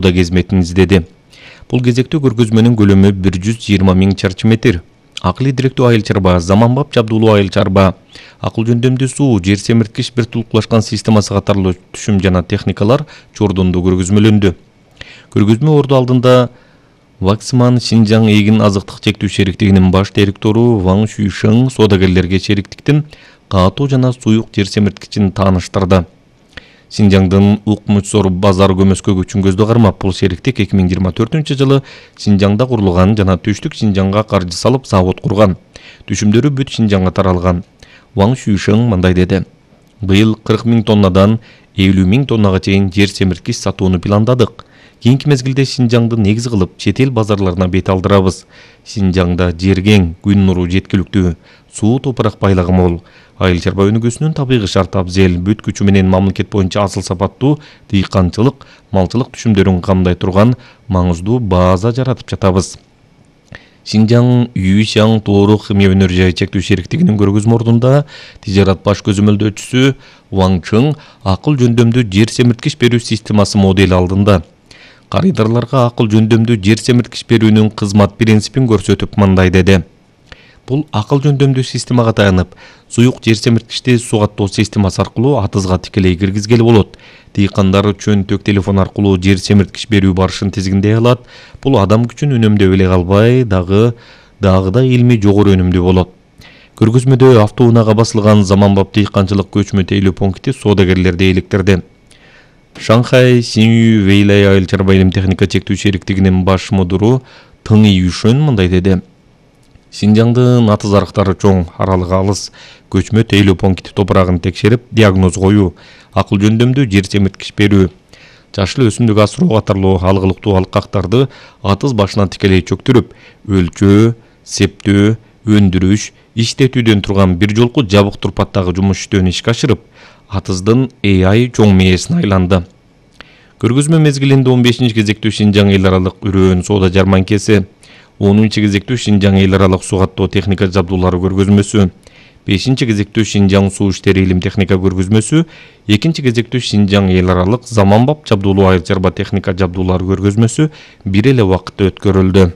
да кезметин издеди. Бул кезектүү көргөзмөнүн көлөмү 120 000 чарчы метр. Акылы директүү айыл чарба, заманбап жабдуулуу айыл чарба, акыл жөндөмдүү суу, жер семирткич бир тулукташкан системасы катарлуу түшүм жана техникалар чордондо көргөзмөлөндү. Көргөзмө орду алдында Ваксман Шинжаң эгин азыктык чектүү шериктигинин баш директору Ван Шүйшең соодагерлерге шериктиктин катуу жана суюк жер семирткичин тааныштырды. Шинжаңдын Укмучсор базар көмөскө көчүнгөздү кармап, бул шериктик 2024-жылы Шинжаңда курулган жана Түштүк Шинжаңга каржы салып завод курган. Түшүмдөрү бүт Шинжаңга таралган. Ван Шүйшең мындай деди: "Быйыл 40 000 тоннадан 50 000 тоннага чейин жер семирткич сатууну пландадык. Кийинки мезгилде Шинжаңды негиз кылып, чет эл базарларына бет алдырабыз. Шинжаңда жер кең, күн нуру жеткиликтүү, суу топурак байлагы мол. Айыл чарба өнүгүүсүнүн табигый шарты абзел, бүт күчү менен мамлекет боюнча асыл сапаттуу дыйканчылык, малчылык түшүмдөрүн камдай турган маңыздуу база жаратып жатабыз." Шинжаң Юйшаң Тоору химия өнөр жайы чектүү шериктигинин көргөзмө ордунда тижарат баш көзөмөлдөөчүсү Ван Чың акыл жөндөмдүү жер семирткич берүү системасы модели алдында карыдарларга акыл жөндөмдүү жер семирткич берүүнүн кызмат принципин көрсөтүп мындай деди: "Бул акыл жөндөмдүү системага таянып, суюк жер семирткичти сугаттоо системасы аркылуу атызга тикелей киргизгеле болот. Дыйкандар чөнтөк телефон аркылуу жер семирткич берүү барышын тизгиндей алат. Бул адам күчүн үнөмдөп эле калбай, дагы илми жогору өнүмдүү болот." Көргөзмөдө автоунаага басылган заманбап дыйканчылык көчмө тейлөө пункти соодагерлерди электирди. Шанхай Синью Вейлай айыл чарба илим техника чектүү шериктигинин баш мудуру Тың Юшөн мындай деди: "Шинжаңдын атыз арыктары чоң, аралыгы алыс. Көчмө тейлөө пункти топурагын текшерип, диагноз коюу, акыл жөндөмдүү жер семирткич берүү, жашыл өсүмдүк асыроо катарлуу алгылыктуу алкактарды атыз башынан тикелей чөктүрүп, өлчөө, септөө, өндүрүш, иштетүүдөн турган бир жолку жабык турпаттагы жумуш-иштөөнү ишке ашырып, атыздын AI чоң мээсине айланды." Көргөзмө мезгилинде 15 кезектүү Шинжаң эл аралык үрөөн соода жарманкеси, 10 кезектүү Шинжаң эл аралык сугаттоо техника жабдуулары көргөзмөсү, 5 кезектүү Шинжаң суу иштери илим техника көргөзмөсү, 2 кезектүү Шинжаң эл аралык заманбап жабдуулуу айыл чарба техника жабдуулары көргөзмөсү бир эле убакытта өткөрүлдү.